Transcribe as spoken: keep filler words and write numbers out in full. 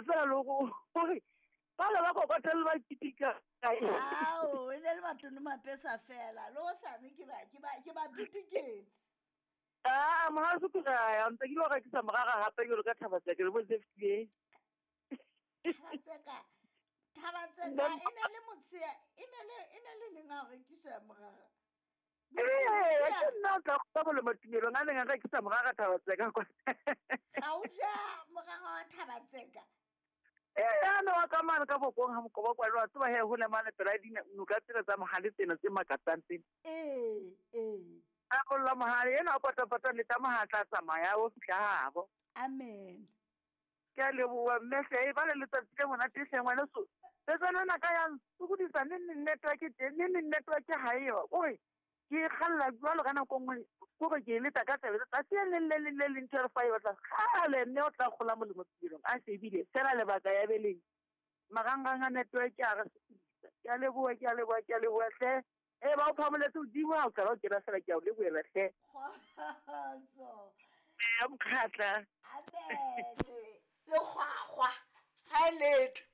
fela le gore ba le ba kokotele ba kitika. Ao, e ne le Matono Mapesa fela le o sane ke ba ke ba ke ba pitiketse. Ah, mohaso ke ra ntse ke lo rekisa morara hape ke lo ka Thaba Tseka le bo Zeftie. Thaba Tseka, Thaba Tseka e ne le motshea, e ne le e ne le neng a rekisa morara. Ee, ke nna o tla go bolemo tumelong a neng a rekisa morara Thaba Tseka kwa. Ga o ja morara wa Thaba Tseka? Ee, a ne wa ka mane ka bokong ha mokoba kwa lwa tseba he ho le mane pela dina noka tsena tsa mohale tsena tse makatsang tsena. Ee, ee. A bolla mohale ena o patapata le tsa mohatla tsamaya o fihla habo. Amen. Ke a leboha mme hle e ba le letsatsi le monate hle ngwana so. Tsena na ka ya sokodisa ne ne network teng ne ne network ha e yo. Ore ke kgalla jwalo ka nako nngwe kore ke e leta ka tsebe tsatsi le le le le le ntho re fa e batla kgale mme o tla kgola molemo tumelong a shebile fela lebaka ya beleng marangrang a network a re sokodisa. Ke a leboha, ke a leboha, ke a leboha hle. E ba o phamoletse hodimo ha o tla o kena fela ke a o lebohela hle. Kgotso. Ya mokgatla. Amen. Le kgwakgwa. Ha e letho.